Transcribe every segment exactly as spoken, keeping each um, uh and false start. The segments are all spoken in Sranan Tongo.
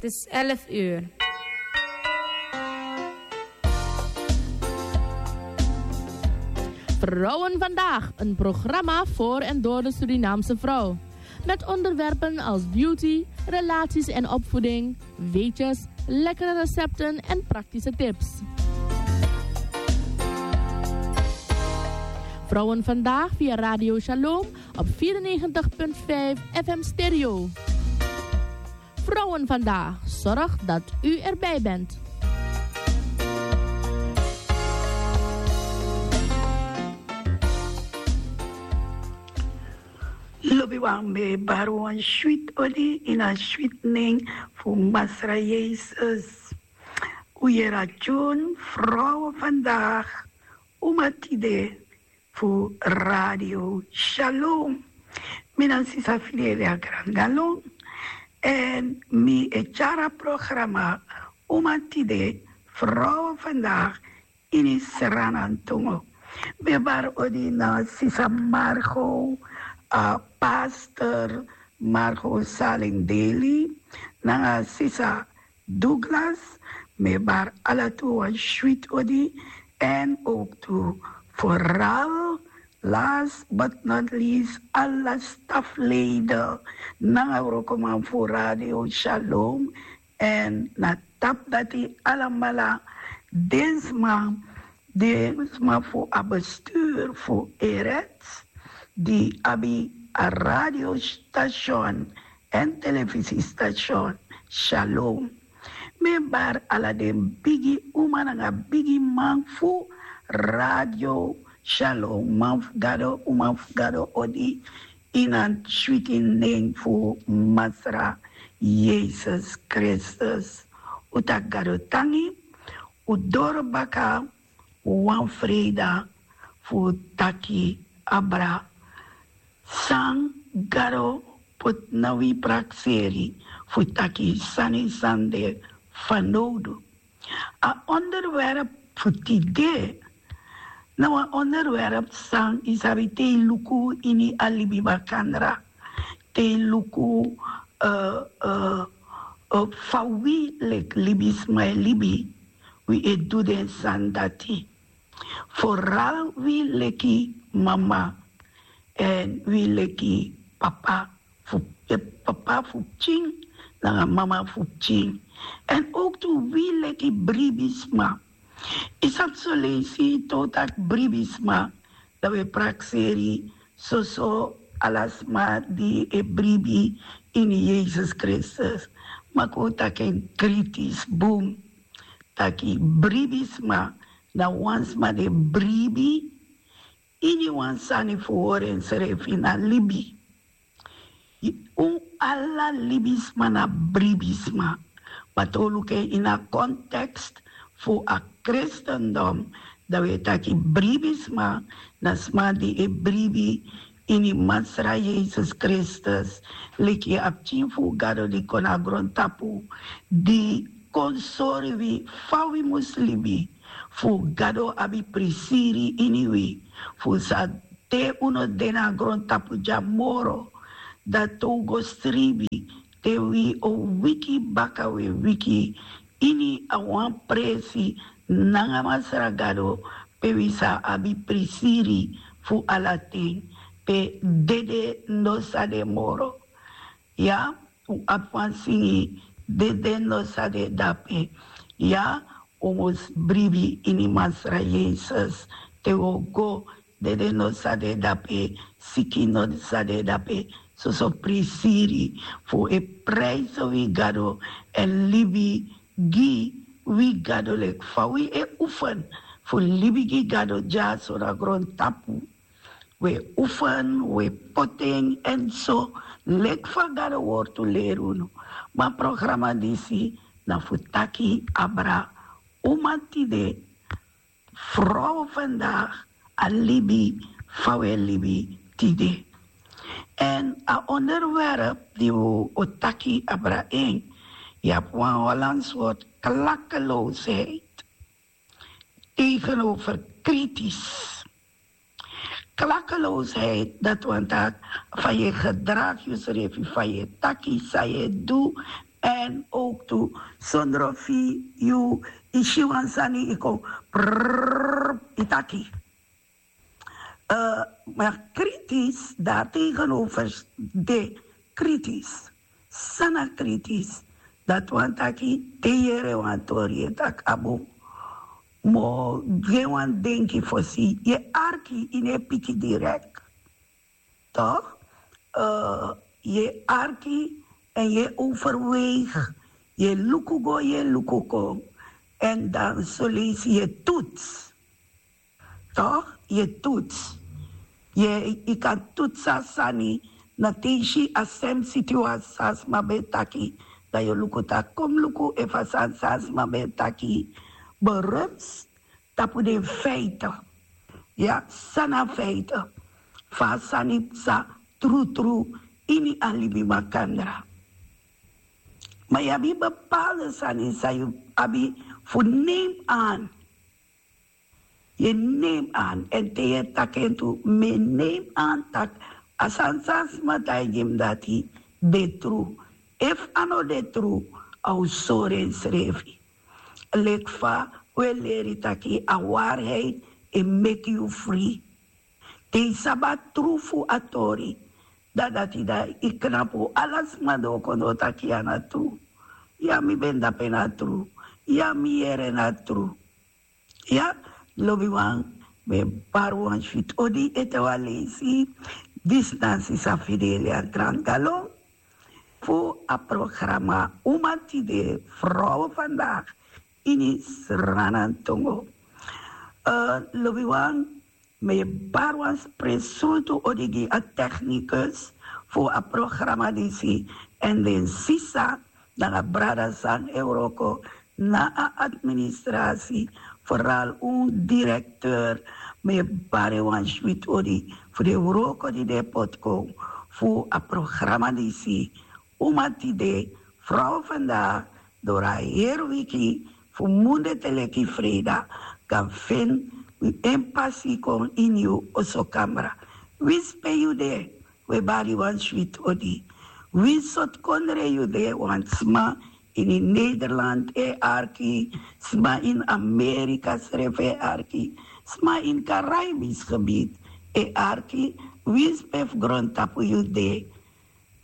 Het is elf uur. Vrouwen Vandaag, een programma voor en door de Surinaamse vrouw. Met onderwerpen als beauty, relaties en opvoeding, weetjes, lekkere recepten en praktische tips. Vrouwen Vandaag via Radio Shalom op vierennegentig punt vijf F M Stereo. Vrouwen Vandaag, zorg dat u erbij bent. Lobi wan, mi e bari wan switi odi ini a switi nen fu Masra Yesus. Un yere a tyun Vrouwen Vandaag, Uma Tide, fu Radio Shalom. Mi na sisa Fidelia Grangalon, èn mi e tyari a programa Uma Tide, Vrouwen Vandaag, ini Sranan tongo. Mi e bari odi na sisa Margo, a pastor Margo Salingdeli, nanga sisa Douglas, mi e bari ala tu wan switi odi, èn ook tu vooral, last but not least, ala stafleider nanga wrokoman fu Radio Shalom, èn na tapu dati alamala den sma, den sma fu a bestuur fu Erets, di abi a radiostation èn telefisistation Shalom. Mi e bari ala den bigi uma nanga bigi man fu Radio Shalom, man fu Gado, uma fu Gado odi, ini a switi nen fu Masra Yesus Kristus. Un taki Gado tangi, un doro baka wan freida fu taki abra san Gado poti na wi prakseri fu taki sani san de fanowdu. A onderwerp fu tide na wan onderwerp san yu sabi te yu luku ini a libi makandra, te yu luku, eh, eh, eh, fa wi leki libisma e libi, wi e du den sani dati. Vooral wi leki mama èn wi leki papa fu, eh, papa fu pikin nanga mama fu pikin. Èn ook tu wi leki bribisma. Yu sabi son leisi te un taki bribisma, dan wi e prakseri soso ala sma di e bribi ini Yesus Kristus. Ma kon un taki en kritis bun, taki bribisma na wan sma di e bribi ini wan sani fu hori ensrefi na libi. Un ala libisma na bribisma. Ma te un luku en ini a context fu a kristendom, dan wi e taki bribisma na sma di e bribi ini Masra Yesus Kristus, leki a pikin fu Gado di kon na grontapu, di kon sori wi fa wi mus libi, fu Gado abi prisiri ini wi, fu san te un no de na grontapu dya moro, dan te un go sribi, te wi o wiki baka, wi e wiki ini a wan presi nanga Masra Gado, pe wi sa abi prisiri fu ala ten, pe dede no sa de moro. Ya, un abi wan singi, dede no sa de dape. Ya, un mus bribi ini Masra Yesus. Te un o go, dede no sa de dape, siki no sa de dape. Soso prisiri fu e prijsi wi Gado èn libi gi wi Gado leki fa wi e oefen fu libi gi Gado dyaso na grontapu. Wi e oefen, wi e poti en èn so leki fa Gado wortu leri unu. Ma programa disi na fu taki abra uma tide, Vrouwen Vandaag, a libi fa wi e libi tide. Èn a onderwerp di wi o taki abra en, yu abi wan Hollands woord, klakkeloosheid tegenover kritisch. Klakkeloosheid, dati wani taki fa yu e gedragi yusrefi, fa yu e taki, san yu e du, En ook tu sondro fi yu isi wan sani iko prrrr itaki. Ma kritis daar tegenover de kritis. Sana kritis dat wan taki te yere wan tori e tak' abo mo gen wan denki fosi ye arki ini e piki direk. Toch? Ye arki en ye overweeg, ye luku go ye luku kon. En dan solesi ye toets. Toch? Ye toets. Ye yu kan toets a sani na te yu si a sem sitiwasi san a sma ben taki. Dan yu luku taki kom luku efu a sani san a sma ben taki berums tapu den feite. Ya, san na feite? Fa a sani psa trutru ini a libi makandra. Ma yu abi bepaalde sani san yu abi fu neem aan. Yu neem aan en te yu e taki en tu mi e neem aan taki a sani san a sma taigi mi dati de tru. Efu a no de tru, a o sori ensrefi. Leki fa un e leri taki a waarheid e meki yu fri. Te yu sabi a tru fu a tori, dan dati dan yu knapu ala sma don kon no taki yu a na tru. Ya mi ben dape na tru. Ya mi yere na tru. Ya, lobiwan, mi e bari wan switi odi ete wan leisi. Disi na sisa fidelia grangalon fu a programa uma tide, vrouwen vandaag, ini sranantongo. Lobiwan, mi e bari wan spresultu odi gi a technicus fu a programa disi, en den sisa nanga brada san e wroko na a administrasi, vooral un directeur. Mi e bari wan switi odi fu den wroko di den e poti kon fu a programa disi. Uma tide, vrouw vandaag, doro a heri wiki fu munde te leki freida kan feni wi en pasi kon ini yu oso kamra. Winsi pe yu de, wi e bari wan switi odi. Winsi sortu kondre yu de, wan sma ini Nederland e arki, sma ini Amerika srefi e arki, sma ini Karaibis gebied e arki. Winsi pe fu grontapu yu de,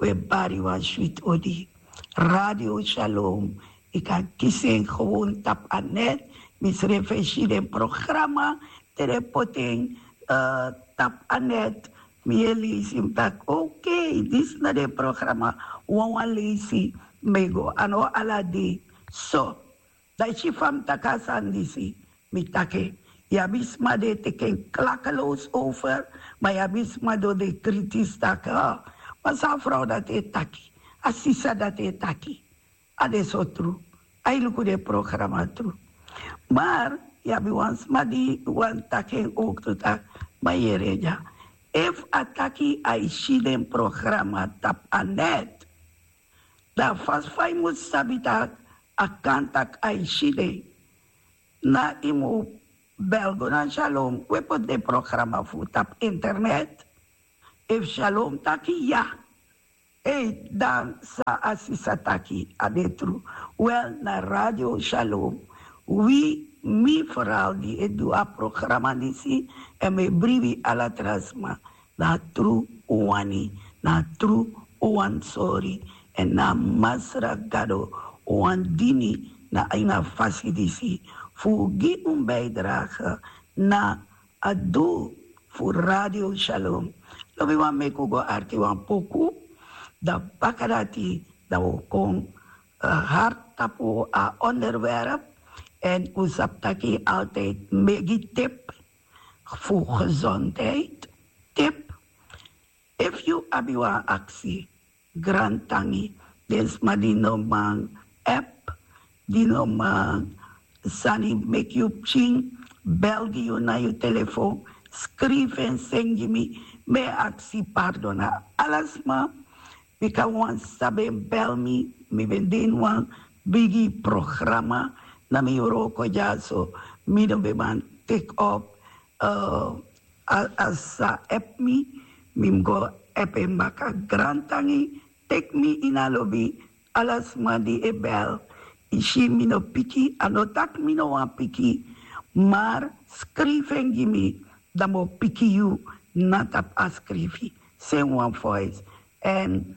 wi e bari wan switi odi. Radio Shalom, yu kan kisi en gewoon tapu a net. Mi srefi e si den programa te den poti en tapu a net. Mi e leisi, mi taki okay, disi na den programa. Wawan leisi mi e go a no ala dei. So, dan yu si fa mi taki a sani disi, mi taki en. Yu abi sma di e teki en klakeloos over, ma yu abi sma di o de kritis taki, ma san a frow dati e taki, a sisa dati e taki, a de so tru. A e luku den programa tru. Mar yu abi wan sma di wani taki en owktu taki, ma yere dya, efu a taki a e si den programa tapu a net, dan a fasi fa yu mus sabi taki a kan taki a e si den, na yu mus bel go na Shalom, wi e poti den programa fu tapu internet. Efu Shalom taki ya, ei, dan san a sisa taki a de tru. Wel, na Radio Shalom, wi, mi foral di e du a programa disi, èn mi e bribi ala tra sma, na a tru un wani, na a tru un wani sori. Èn na a Masra Gado un wani dini na ini a fasi disi fu gi un bijdrage na a dul fu Radio Shalom. Lobiwan, meki un go arki wan poku, dan baka dati dan un o kon hard tapu a onderwerp. Èn un sabi taki altijd mi e gi tip fu gezondheid, tip. Efu yu abi wan aksi, grantangi, den sma di no man app, di no man sani meki yu pikin bel gi yu na yu telefon, skrifi en seni gi mi. Mi e aksi pardon na ala sma, bika wan sisa ben bel mi, mi ben de ini wan bigi programa na mi wroko dyaso. Mi no ben man teki op a sisa app mi, mi mus go app en baka. Grantangi, teki mi ini a lobi, Ala sma di e bel, yu si mi no piki, a no taki mi no wani piki, maar skrifi en gi mi, dan mi o piki yu na tapu a skrifi. Seni wan voice. En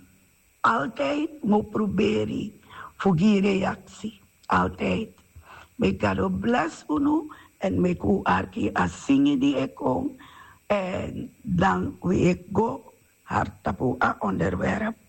altijd mi o proberi fu gi reaksi. Altijd. May God bless unu, en meki un arki a singi di e kon. En dan wi e go hard tapu a onderwerp.